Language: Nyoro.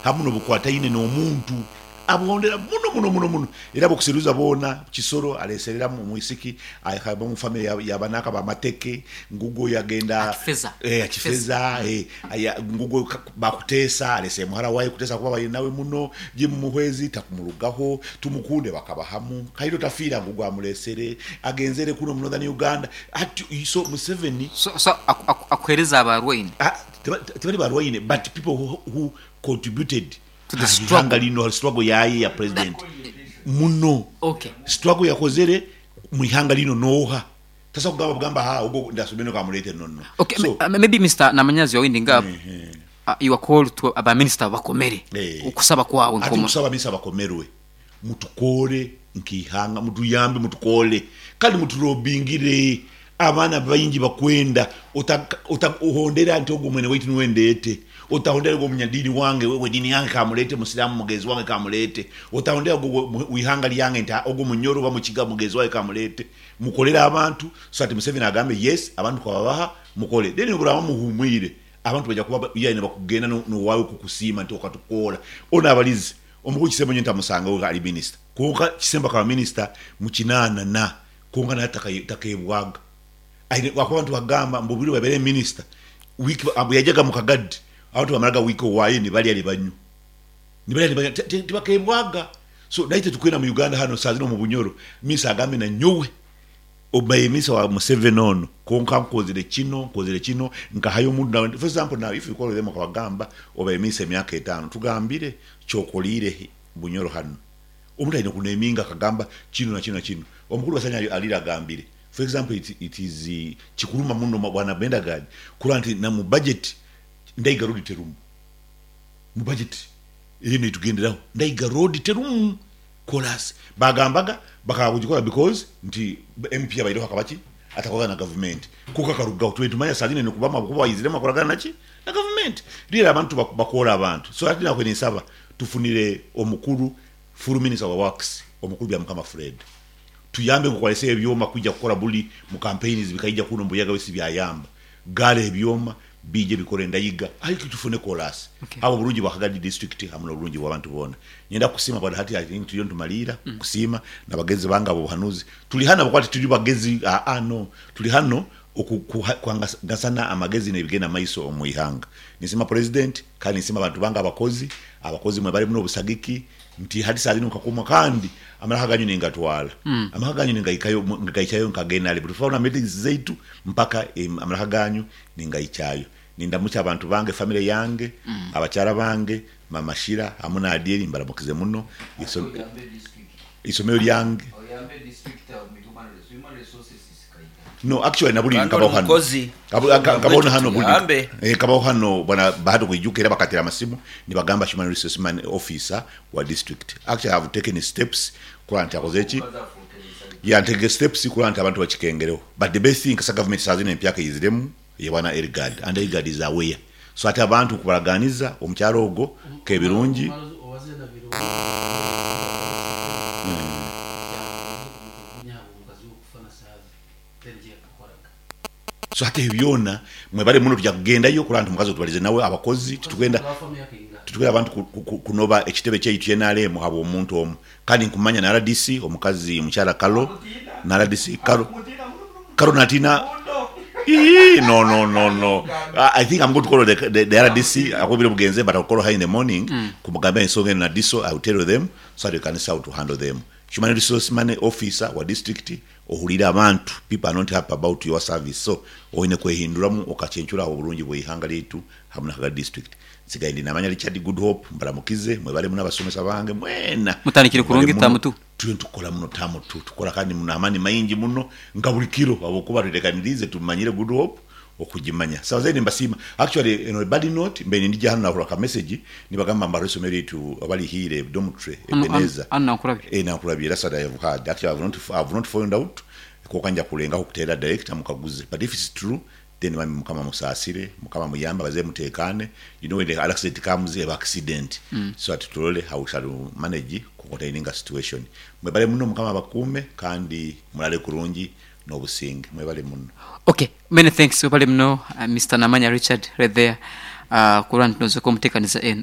Hamu n'obukwataine n'omuntu abuhondera muno muno muno muno era abokuseruza boona Kisoro alesereramu omwisiki akaba omu famire ya banaka ba Mateke ngugo yagenda Akifeza. Akifeza ngugo Bakuteesa alese muhara waye Kuteesa kuba abaire nawe muno Jim Muhwezi takumurugaho Tumukunde bakaba hamu Kaito tafiira ngugo amulesere agenzere kuno mu Northern Uganda ati so Museveni So so akuhereza abarwaine. Tibali barwaine but people who contributed To the ha struggle. ihanga lino ha struggle yaye ya president muno. Okay. Struggle yakozere mu ihanga lino noha? Tasobola kugamba bugamba ha ogo ndasomere kamulete no no. Okay, So maybe Mister Namanyazi you're winding up, your call to ba minister bakomere okusaba kwawe Ati nkomu. nkusaba minisita bakomerwe mutukole nk'eihanga mutuyambe mutukole kandi mutulobingire abaana baingi bakwenda otahondera nti ogwo mwene waitu niwe ndeete otahondera ogwo munyadiini wange we diini yange kamulete musiraamu mugenzi wange kamulete otahondera ogwo wihanga lyange nti ogwo munyoro oba mukiga mugenzi wange kamulete mukolere abantu so that Museveni agambe yes abantu twababaha mukole then oburaba muhumwire abantu baija kuba yaani nibakugenda nowaawe kukusiima nti okatukora onu abalize omukuru Kisembo nyowe ntamusangaho ari minisita kwonka Kisembo akaba minisita mu kinaana na kwonka nawe takebwaga aine ahakuba abantu bagamba mbu obwire obu yabaire minisita wiiki bweyajaga mu Kagadi abantu bamaraga wiiki owaayo nibarya nibanywa nibarya nibanywa tibakebwaga so naitwe tukwenda mu Uganda hanu saaha zinu omu Bunyoro minisita agambe nanyowe Obaire minisita wa Museveni ono kwonka nkozire kino, nkozire kino, nkahayo omuntu nawe. For example now if you call them okabagamba obaire minisita emyaka etaano tugambire kyokoliire Bunyoro hanu. Omuntu aine kuneminga akagamba kinu na kinu na kinu. Omukuru Basanya alire agambire. For example it is kikuruma muno bwana Bendagard kurora nti na mu budget Ndaiga road terumu. Mu budget eriyo netugenderaho Ndaiga road terumu. Chorus, Baagambaga bakaba kugikora because nti MP abaireho akaba ki? Atakoragana na gavumenti. Kwonka akarugaho twena nitumanya saaha zinu aine kuba ahabw'okuba aiziremu akoragana naki? Na gavumenti. Reero abantu bakoora abantu. So hati naakwe ninsaba tufunire omukuru full minister wa works omukuru Byamukama Fred tuyambe nk'oku areseho ebyoma kwija kukora buri mu campaigns bikaija kunu omu Buyaga bisi byayamba. Gaara ebyoma biije bikore endayiga aye tufune koraasi habwa oburungi bwa Kagadi district hamu n'oburungi bw'abantu boona. Nyenda kukusiima bwana hati I think turiyo nitumariira kusiima na bagenzi bange ab'obuhanuzi. Turi hanu ahabw'okuba tituri bagezi aa no, turi hanu okugasana amagezi n'ebigenda maiso omu ihanga. Ninsiima Purezidenti kandi ninsiima abantu bange abakozi, abakozi mwebale muno obusagiki nti hati saaha zinu nkakomwa kandi amaraka ganyu ningatwara. Amaka ganyu ningaihikayo nka genare buri tufuna meetings zaitu mpaka amaraka ganyu ningaikyayo. Nindamukya abantu bange, family yange, abakyara bange, Mama Shira hamu na Adieri mbaramukize muno. Eisomero lyange. No actually naburi Kandi ori nkabaho hano. mukozi, Nkabaho nabwekyo hano buri tuyambe. nkabaho hano bwana Bahati okwijuka era bakatera amasimu nibagamba human resource man officer wa district. Actually I have taken steps kurora nti akoze ki? Yeah ntekere steps kurora nti abantu bakikengereho. But the best thing kasita government saha zino empyaka eiziremu eya bwana Elgard and Elgard is aware. So ati abantu okubaraganiza omukyara ogwo kebirungi. So hati ebyo byona mwebale muno tuja kugendayo kurora nti omukazi otubalize nawe abakozi titukwenda titukwenda abantu kunoba ekitebe kyaitu kye nrm habw'omuntu omu kandi nkumanya na rdc omukazi mukyara Carol na rdc Carol Carol natina Ii no no no no I think I'm going to call the rdc ahabwokuba obwire bugenze but I'll call her in the morning kumugambira ensonga eno na DISO I will tell them so that we can see how to handle them. Human resource money officer wa district Ohuriire abantu, people are not happy about your service so oine kwehinduramu okacencura ahabw'oburungi bw'eihanga lyaitu hamu na Kagadi district. Nsigaire ndi Namanya Richard Goodhope mbaramukize, mwebale muno abasomesa bange mwena Mutandikire mwebale kurungi muno. taamu tu. Turiyo nitukora muno taamu tu, tukora kandi n'amaani maingi muno nka buri kiro ahabw'okuba twetekaniriize tumanyire Goodhope okugimanya. Sawa zaidi nimbasiima. Actually on a bad note mbaire nindija hanu nahurra ka message nibagamba mbu hariho eisomero lyaitu oba rihiire dormitory Hanu Ebenezer. hanu Nankulabye. Eh Nankulabye that's what I have heard. Actually I have not found out kwonka nja kulengaho kuteera director mukaguze but if it's true then bambi mukama amusaasire, mukama amuyambe abazaire muteekaane, you know when the accident comes eba accident so that turole how we shall manage ku containinga situation. Mwebale muno mukama abakuume kandi muraare kurungi n'obusinge. Mwebale muno. Ok many thanks webale muno Mister Namanya Richard right there kurora nti nozoka omutekaniza enu.